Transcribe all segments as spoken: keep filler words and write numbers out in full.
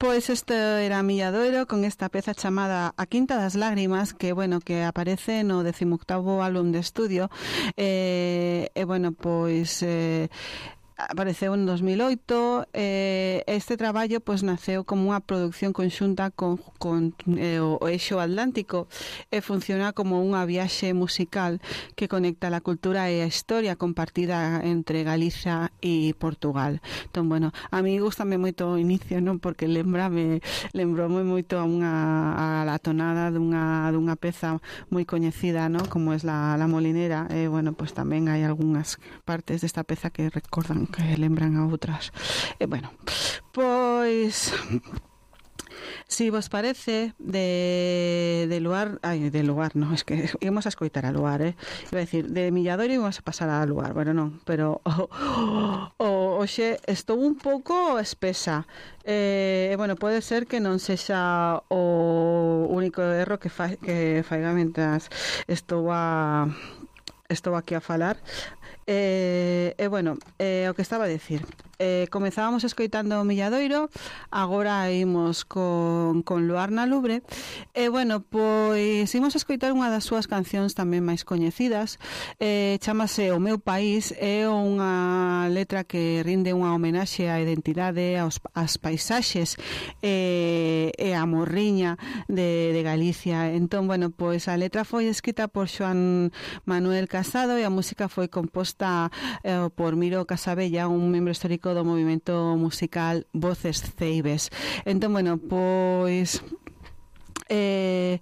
Pois isto era Milladoiro con esta peza chamada A Quinta das Lágrimas, que, bueno, que aparece no decimoctavo álbum de estudio. E, eh, eh, bueno, pois... Eh, apareceu en dos mil oito. Eh, este traballo pois naceu como unha produción conxunta con, con eh, o Eixo Atlántico e funciona como unha viaxe musical que conecta a cultura e a historia compartida entre Galiza e Portugal. Entón, bueno, a mí gustame moito o inicio, non? Porque lembrame, lembrome moito a unha a la tonada dunha, dunha peza moi coñecida, non? Como es la, la Molinera. E, bueno, pois tamén hai algunhas partes desta peza que recordan, que lembran a outras. E, bueno, pois si vos parece de, de lugar, ai, de lugar, non, es que íbamos a escoitar a lugar, eh? Iba a decir, de Milladoiro íbamos a pasar a lugar, bueno, non, pero o, o, oxe, estou un pouco espesa. Eh, bueno, pode ser que non sexa o único erro que fa, que faiga mentras estou a estou aquí a falar. E, eh, eh, bueno, eh, o que estaba a decir, eh, comezábamos escoitando o Milladoiro, agora imos con, con Luar na Lubre. E, eh, bueno, pois imos a escoitar unha das súas cancións tamén máis coñecidas. eh, chamase O Meu País. É unha letra que rinde unha homenaxe á identidade, aos, ás paisaxes e, e a morriña de, de Galicia. Entón, bueno, pois a letra foi escrita por Xoán Manuel Casado e a música foi composta eh, por Miro Casabella, un membro histórico do movimento musical Voces Ceibes. Entón, bueno, pois eh,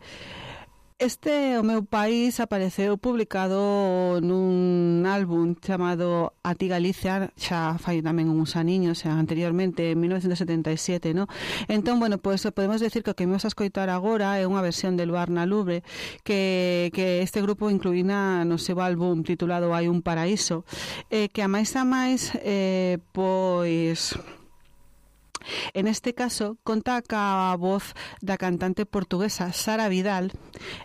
este O Meu País apareceu publicado nun álbum chamado A Ti Galicia, xa fai tamén uns aniños, xa anteriormente, en mil novecientos setenta e sete, no? Entón, bueno, pois podemos decir que o que imos a escoitar agora é unha versión de Luar na Lubre que, que este grupo incluína no seu álbum titulado Hai un Paraíso, eh, que a máis a máis eh, pois... en este caso conta ca voz da cantante portuguesa Sara Vidal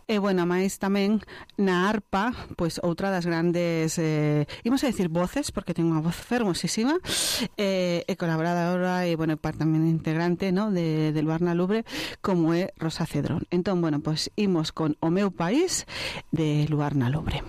e, bueno, máis tamén na arpa, pois outra das grandes eh, imos a decir voces, porque ten unha voz fermosísima, eh, e colaboradora e, bueno, parte tamén integrante, no, de, de Luar na Lubre, como é Rosa Cedrón. Entón, bueno, pois imos con O Meu País de Luar na Lubre.